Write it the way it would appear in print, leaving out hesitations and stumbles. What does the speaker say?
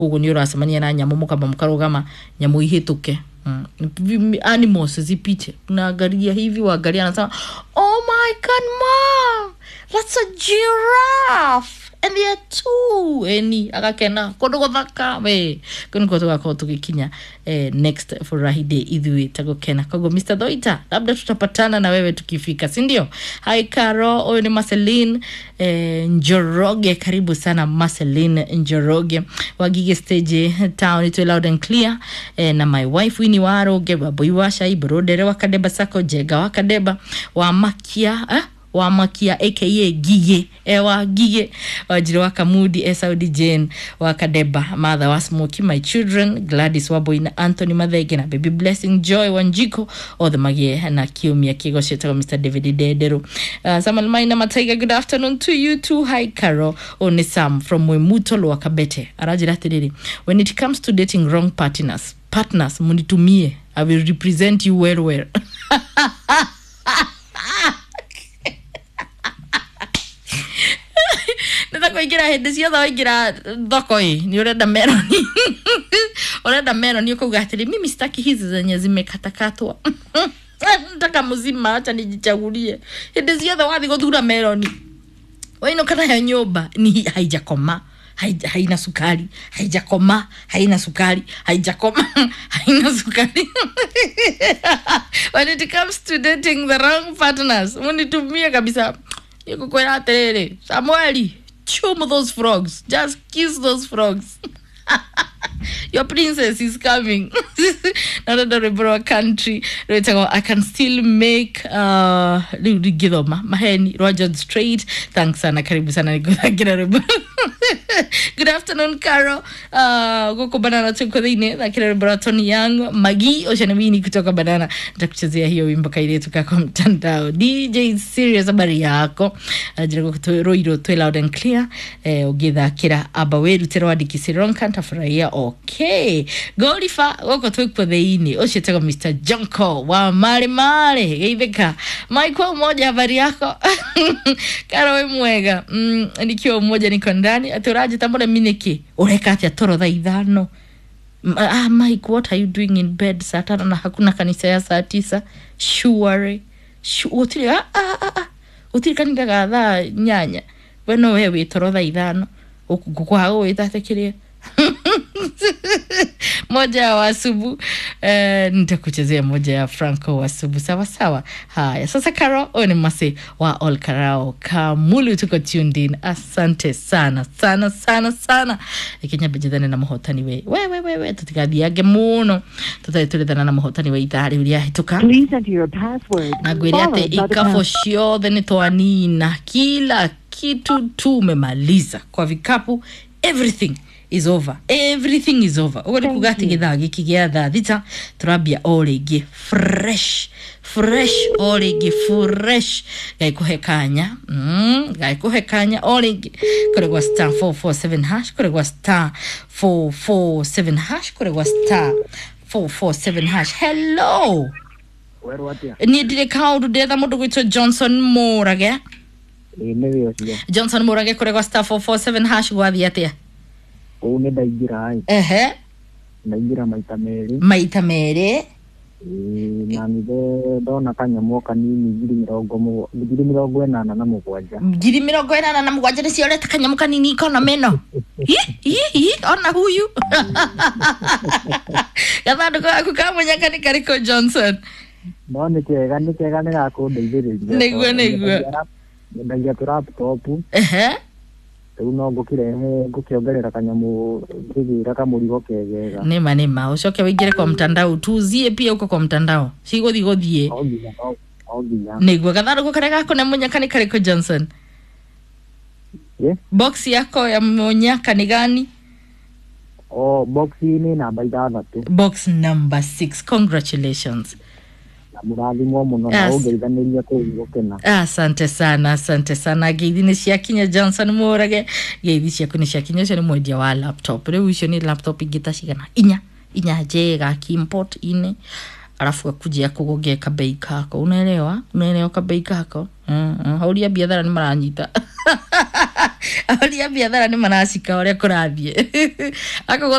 Koguo nĩ ũracemania na nyamũ, mũkamba mũkarũgama nyamũ ihĩtũke. Animals zipite, unaangalia hivi, waangalia, anasema, "Oh my God, Mom, that's a giraffe and there are two." Eni agakena kũndũ gũthaka we kũu nĩkuo tũgakorwo tũgĩkinya next Friday ithuĩ tagũkena. Koguo Mr Thoita, labda tutapatana na wewe tukifika, si ndio? Hi Caro, huyu ni Marceline Njoroge. Karibu sana Marceline Njoroge Wagige stage town itwe loud and clear, na my wife Winnie Waroge, Waboi wa Shai Brodere wa Kadeba Sako, Jega wa Kadeba wa Makia, wa Makia aka Gige, ewa Gige Wajiri wa Kamudi, Esaudi Jane wa Kadeba, mother wa Smoky, my children Gladys Waboi na Anthony Mathenge na baby Blessing Joy Wanjiko, othe magie na kiumia kigocetagwo Mr David Dederu. Samuel Maina Mataiga, good afternoon to you too. Hi Caro, oh, ni Sam from Mwimuto Lower Kabete aranjĩra atĩrĩrĩ, when it comes to dating wrong partners, munitumie, I will represent you well well. Nĩ kũingĩra hĩndĩ ciothe waingĩra thoko ĩ nĩ ũrenda meroni, ũrenda meroni, ũkauga atĩrĩ, "Mimi sitaki hizi zenye zimekatakatwa, nataka mzima, acha nijichagulie." Hĩndĩ ciothe wathiĩ gũthura meroni wainũka nayo nyũmba ni haijakoma, haina sukari, haijakoma, haina sukari, haijakoma, haina sukari. When it comes to dating the wrong partners, munitumie kabisa. Nikukwira atiriri, Samueli, chum those frogs, just kiss those frogs, your princess is coming. Narenda rwĩmbo rwa country rwĩtagwo "I Can Still Make", rĩu ringĩthoma maheni, rwa George Strait. Thanks sana, karibu sana nĩngũthakĩra rwĩmbo. Good afternoon Caro, gũkũ Banana tuko thĩinĩ, thakĩra rwĩmbo rwa Tony Young Magi. Ũcio nĩ Wini kutoka Banana, nitakuchezea hiyo wimbo kairĩtu kako mtandao. DJ Serious, habari yako? Njĩra gũkũ rũirũ twĩ loud and clear, ũngĩthakĩra amba wĩrutĩre wandĩki ntafurahia. Okay, Golifa, gũkũ twĩkuo thĩinĩ, ũcio tagwo Mr Jonko wa mare mare geithĩka. Michael Umoja, habari yako? Karo, wĩ mwega? Nikiwa Umoja, niko ndani. Atĩ ũranjĩta mũremi nĩkĩ? Ũreka atĩa toro thaa 5? Mike, what are you doing in bed saa 5 na hakuna kanisa ya saa 9? Sure, gũtirĩ, gũtirĩ kanitha ga thaa 8, we no we wĩ toro thaa 5 ngũkwaga gũgwĩta atĩ kĩrĩa moja ya Wasubu. Nitakuchezea moja ya Franco Wasubu, sawa sawa. Haya sasa, Karo, huyu ni Masi wa All Karao Kamulu, tuko tuned in. Asante sana sana sana sana. Ikinya mbejethane na muhotani we we we we we tutigathiange muno tutarĩ tũrethana na muhotani wa ithaa rĩu rĩahĩtũka. Please enter your password Na ngwĩre atĩ followed by the ikabu pound. ciothe nĩ twanina, kila kitu tumemaliza kwa vikapu, everything is over, everything is over. Ũguo nĩ Thank kuga atĩ you. gĩthaa gĩkĩ gĩa thaa 6 tũrambia o rĩngĩ fresh fresh, o rĩngĩ fresh. Ngai kũhe kanya, Ngai kũhe kanya o rĩngĩ kũrĩ gwa star 447 hash, kũrĩ gwa star 447 hash, kũrĩ gwa star 447 hash. Hello. Werwo atĩa? Niĩ ndirĩ kaũndũ, ndetha mũndũ gwĩtwo Johnson Mũrage. Ĩĩ nĩwe ũcio. Johnson Mũrage, kũrĩ gwa star 447 hash gwathiĩ atĩa? Kũu nĩ ndaingĩra ĩ, Ehe. ndaingĩra maita merĩ. Maita merĩ. Ĩĩ, na nithe ndona kanyamũ o kanini 87,000. 87,000 nĩcio ũreta kanyamũ kanini kona meno? Hi, hi, hi, ona huyu gathandũkũ gaku ka mũnyaka nĩ karĩkũ, Johnson? No nĩ kega, nĩ kega, nĩ gakũndeithĩrĩria. Nĩguo, Tondũ nĩguo. nyendagia tũ laptop, Ehe. rĩu no ngũkĩrehe ngũkĩongerera kanyamũ ngĩgĩra kamũrigo kegega. Nĩma nĩma, ũcoke wĩingĩre kwa mtandao tuuzie pia huko kwa mtandao, cigũthi gũthiĩ. No nginya, no nginya. Nĩguo, gathandũkũ karĩa gaku na mũnyaka nĩ karĩkũ, Johnson? Ĩ? Box yako ya mũnyaka nĩ gani? O box nĩ namba 6. Box number 6, congratulations. Na mũrathimwo mũno na Yes. ũngeithanĩria kũu gũkena. Asante sana, asante sana. Ngeithi nĩ ciakinya, Johnson Mũrage, ngeithi ciaku nĩ ciakinya. Ũcio nĩ mwendia wa laptop. Rĩu icio nĩ laptop ingĩ ta cigana? Inya, inya njega akiimport ine, alafu akujia kũgongea kabei kako, unaelewa, unaelewa kabei kako. Hauria biathara nĩ maranyita. Ahũri a biathara nĩ maracika ũrĩa kũrathiĩ. Akoguo.